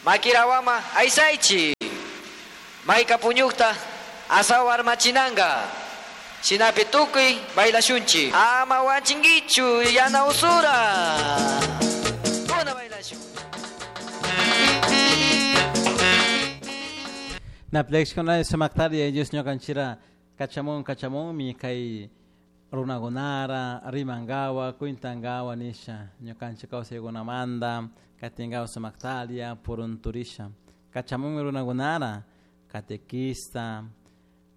Makirawama aysaychi. Mayka puñukta asaw armachinanga. Shinapi tukuy bailashunchi. Ama wanchinkichu yana usura. Kuna bailashun. Naplexkuna sumaktari Dios ñukanchira kachamun kachamunmi kay runakunara rimangawa kwintangawa nisha ñukanchik kawsaykunamanta katingawa sumaktalia purunturisha kachamunmi runakunara catequista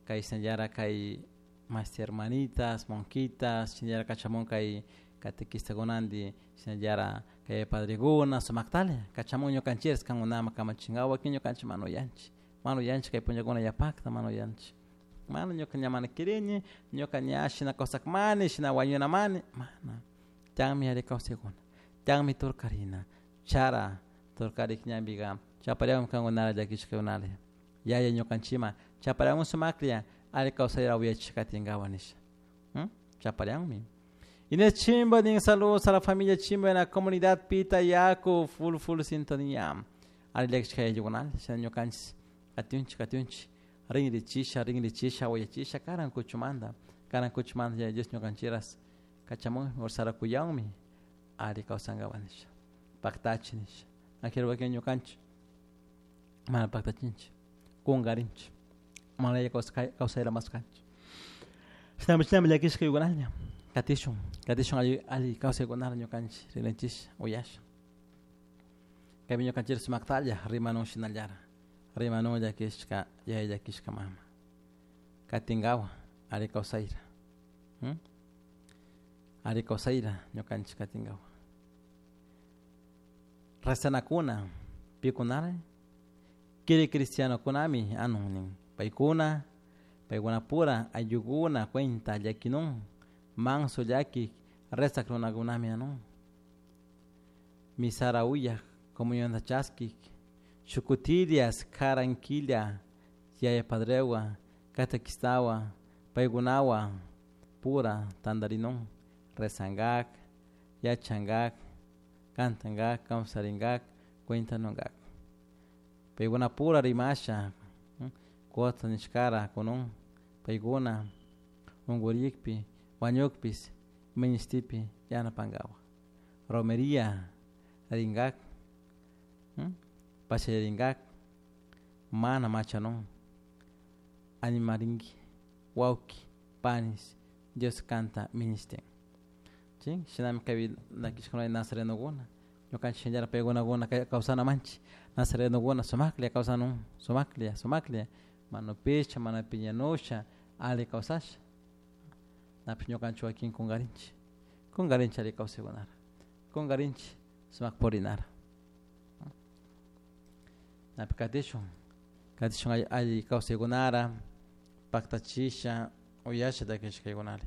kay shinallara kay masti hermanitas monjitas shinallara kachamun kay catequistakunanti shinallara kay padrekuna sumaktalia kachamun ñukanchik kankunaman kamachinkawa wakin ñukanchik mana uyanchik mana uyanchik kay punllakuna yapakta mana uyanchik mana ñuka ña mana quirini ñuka ña shina kawsakmani shina wañunamani mana tiyanmi ari kawsaykuna tiyanmi turkarina chara turkarik ñanpika chapariakun kankunara llakishkakunala yaya ñukanchikman chapariakun sumaklla alli kawsayta uyachik katinkawa nisha chaparianmi. Inés Chimba nin saludos a la familia Chimba en la comunidad Pita Yaku full full sintonía alli llakishka ayllukunala shina ñukanchik katiunchik katiunchik rinrichisha rinrichisha uyachisha karan kuchumanta karan kuchumanta Yaya Dios ñukanchikras kachamunmi ursarakuyanmi alli kawsankapak nisha paktachi nisha akero wakin ñukanchik mana paktachinchik kunkarinchik mana alli kawsayta maskanchik shinami shinami llakishka yuykunalla katishun katishun alli alli kawsaykunata ñukanchik rinrichisha uyasha kaypi ñukanchik sumaktalla rimanun shinallara rimanun llakishka yaya llakishka mama katinkawa alli kawsayta alli kawsayta ñukanchik katinkawa rezanakuna pikunara kiri cristianokunami anun nin paykuna paykunapura ayllukuna cuenta llakinun manso llakik rezak runakunami anun misara uyak comunionta chaskik shukutilias karan killa yaya padrewan catequistawan paykunawan pura tantarinun rezankak yachankak cantankak kawsarinkak cuentanunkak paykunapura rimasha kutin nishkara kunun paykuna unkurikpi wañukpis ministipi yanapankapak romeria rinkak pachallarinkak mana machanun animarinki wawki panis Dios kanta ministin chin shinami kaypi llakishkuna nazarenokuna ñukanchik shinallara paykunakuna kawsanamanchik nazarenokuna sumaklla kawsanun sumaklla sumaklla mana upisha mana piñanusha alli kawsasha napish ñukanchik wakin kunkarinchik kunkarinchik alli kawsaykunata kunkarinchik sumak purinata napi katishun katishun alli kawsaykunata paktachisha uyasha takishkaykunata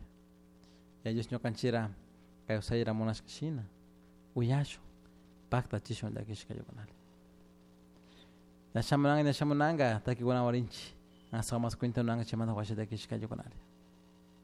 Yaya Dios ñukanchikra kawsayta munashka shina uyashun paktachishun llakishkaykunata ña shamunanka ña shamunanka takikunawan rinchik astawan mas cuentanunanka chaymanta washa llakishkaykunata.